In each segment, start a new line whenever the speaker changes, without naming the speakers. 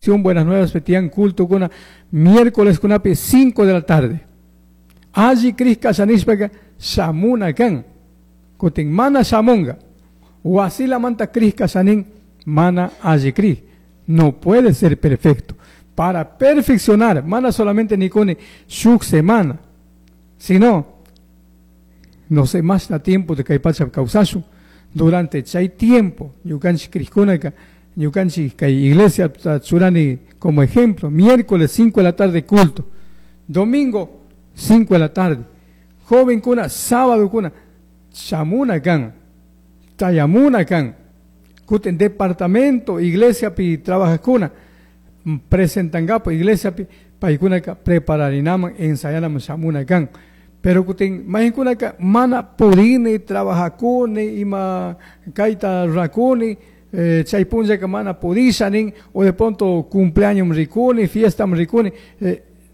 Bastión Buenas Nuevas tiyan culto kuna miércoles kunapi 5 de la tarde. Alli crij kasha nishpaka shamuna kan. Kutin mana shamunga. Wasilamanta crij kasha nin mana alli crij. No puede ser perfecto. Para perfeccionar, mana solamente nikuni shuk semana, sino no sé más na tiempo de kay pacha kawsashun. Durante chay tiempo, ñukanchik crijkunaka, ñukanchik kay iglesia churani como ejemplo, miércoles 5 de la tarde culto, domingo 5 de la tarde, joven kuna, sábado kuna, shamuna kan, chayamuna kan, kutin departamento, iglesia pi trabajajkuna, presentangapo iglesia pi paykunaka prepararinaman ensayanaman shamuna kan. Pero kutin mayqinkunaka mana pudini trabajakuni ima kayta rurakuni chay punllaka mana pudisha nin o de pronto cumpleaños rikuni, fiesta rikuni,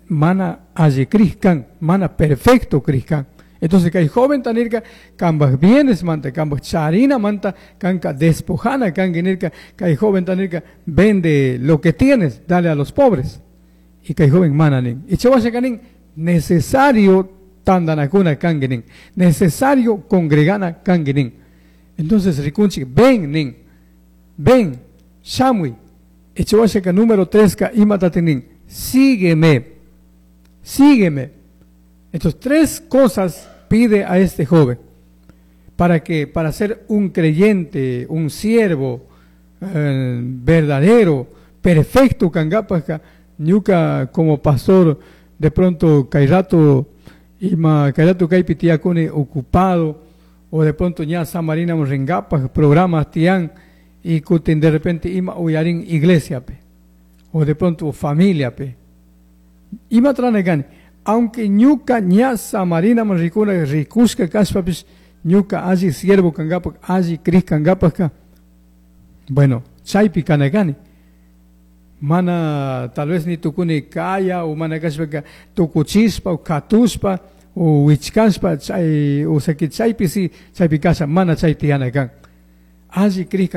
mana alli crij kan, mana perfecto crij kan. Entonces kay joven ta nirka kambaj bienes manta, kambaj charina manta, kanka despojana kanki nirka, kay joven ta nirka vende lo que tienes, dale a los pobres. Y kay joven mana nin. Y chay washa nin, necesario tandanakuna kanki nin, necesario congregana kanki nin. Entonces rikunchik, ven nin, ven, shamui. Y chay washa número 3 ka imatatin nin, sígueme, sígueme. Entonces, 3 cosas pide a este joven para ser un creyente, un siervo verdadero, perfecto, kangapajka, ñuka como pastor, de pronto kay rato ima kay rato kaypi tiyakuni ocupado, o de pronto ña samarina ringapaj programas tiyan y kutin de repente ima uyarin iglesia pe, o de pronto familia pe. Ima tranegani, aunque ñuka ña samarina rikuna rikushka kashpapis, ñuka alli siervo kangapaj, alli crij kangapajka, bueno, chaypi kanagani. Mana tal vez ni tukuni kaya o mana kashpaka tukuchispa o katuspa o wichkashpa, chay, o sea que chaypi si, chaypi kasha, mana chay tiyana kan. Alli crij.